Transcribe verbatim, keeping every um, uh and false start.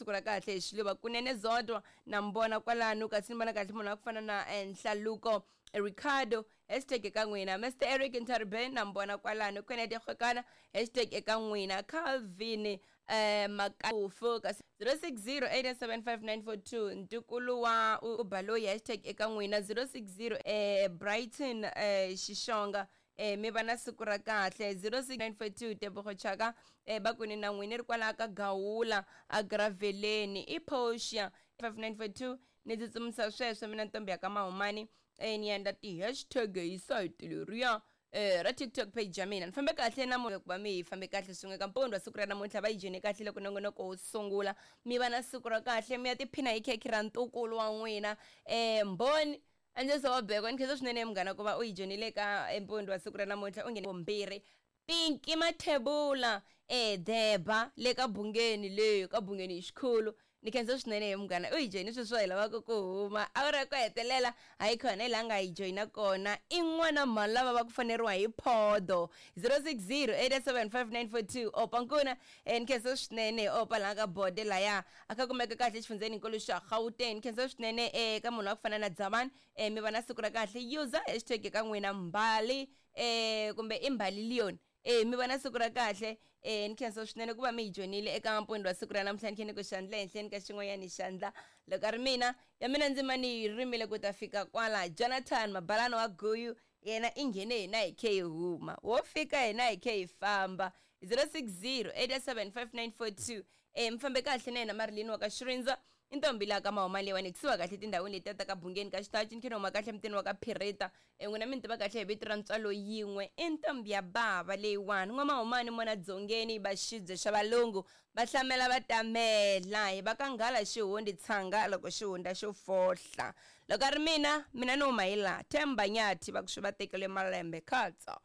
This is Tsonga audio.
siku ra kahle hi xiluva kunene Zodwa na mbona kwalano kasi ni vona kahle munhu wa ku fana na eh, Nhlaluko Ricardo, hashtag eka n'wina. Mister Eric Ntarbe na mbona kwalano. Kennedy Kgokana, hashtag eka n'wina. Calvin eh Makafu kasi zero six zero eight seven five nine four two ntukulu wa Ubaloyi, hashtag eka n'wina. zero six zero eh Brighton eh Xixonga, eh mi va na siku ra kahle. zero six nine four two Tebogo Chaka, eh va kwini na n'wina ri kwalaha ka Gawula a Graveleni i Porsche five nine four two. Ni tsutsumisa sweswo mina ntombi ya ka Mahumani, eh ni endla ti-hashtag hi site leriya eh ra TikTok page ya mina. Ni fambe kahle na ku va mi hi fambe kahle swin'we ka mpundzu wa siku ra namuntlha, va yi joyine kahle loko nongonoko wo sungula. Mi va na siku ra kahle, mi ya tiphina hi khekhe ra ntukulu wa n'wina. eh Mbhoni Andzisa wa Beko, ni khensa swinene munghana ku va u yi joyinile ka mpundzu wa siku ra namuntlha. U nghene vumbirhi Pinki Mathebula eh Deba le ka Bungeni, le ka Bungeni hi xikhulu. Ni khensa swinene munghana u yi joyini sweswo hi lavaka ku huma awara ku hetelela hayi khona hi laha nga yi joyina kona. I n'wana mhani lava va ku faneriwa hi phodo zero six zero eight seven five nine four two opa nkuna. Eh ni khensa swinene opa laha ka bode laya a kha kumeka kahle xifundzeni nkulu xa Gauteng. Ni khensa swinene eh ka munhu wa ku fana na Dzamani, eh mi va na siku ra kahle. User hashtag ka n'wina Mbali eh kumbe i Mbali Leon, eh mi va na siku ra kahle. Eh ni khensa swinene ku va mi hi joyinile eka mpundzu wa siku ra namuntlha. Ni khe ni ku xandla ehenhleni ka xin'wanyana xandla loko a ri mina ya mina ndzima ni yi rimile ku ta fika kwala. Jonathan Mabalana wa Guyu yena i nghene hina hi khe hi huma, wo fika hina hi khe hi famba. zero six zero eight seven five nine four two eh mi fambe kahle na yena Marilyn wa ka Xirindza i ntombi laha ka Mahuma leyiwani kusuhi kahle tindhawini letiya ta ka Bungeni ka Xitachi. Ni khe ni huma kahle mutini wa ka Phirita, eh n'wina mi ni tiva kahle hi vito ra ntswalo yin'we i ntombi ya bava leyiwani. N'wamahumani mona dzongeni va xibye xa valungu va hlamela va tamela hi va ka nghala xihundi tshanga loko xihunda xo fohla. Loko a ri mina mina ni huma hi laha Themba Nyathi va ku swi va tekele malembe khatsa.